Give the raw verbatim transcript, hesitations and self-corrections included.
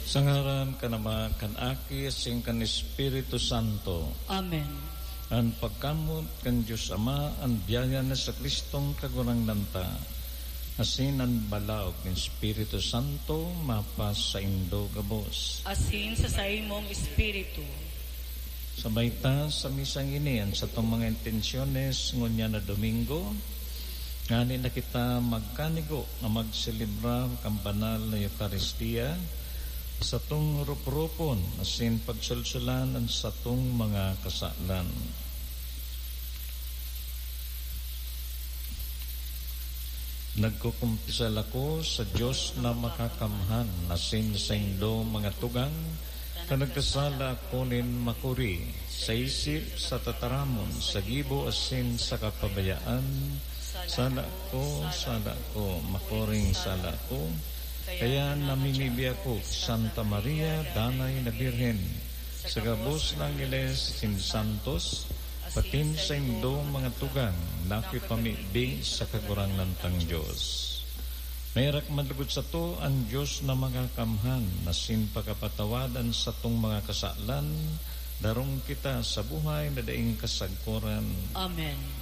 Sa ngaran kan Ama, kan Aki, asin kan Espiritu Santo. Amen. An pagkamoot kan Dios Ama, an biyaya ni Jesu-Cristong Kagurangnan ta, asin an balaog nin Espiritu Santo mapasaindo gabos. Asin sa saimong espiritu. Sabay ta sa misang ini an satong mga intensyones ngunyan na Domingo, ngani na kita magkanigo na magselebra kan banal na Eukaristia, satong rup-rupon asin pagsulsulan an satong mga kasalan. Nagkukumpisal ako sa Dios na makakamhan asin saindo mga tugang, ta nagkasala ako nin makuri, sa isip, sa tataramon, sa gibo asin sa kapabayaan. Sala ko, sala ko, makuring sala ko. Kaya namimibi ako ki Santa Maria, Danay na Birhen, sa gabos na angheles asin santos, patin saindong mga tugang na kipamibi sa Kagurangnan tang Dios. Maherak man lugod sato an Dios na makakamhan, asin pakapatawad an satong mga kasalan, darong kita sa buhay na daing kasagkoran. Amen.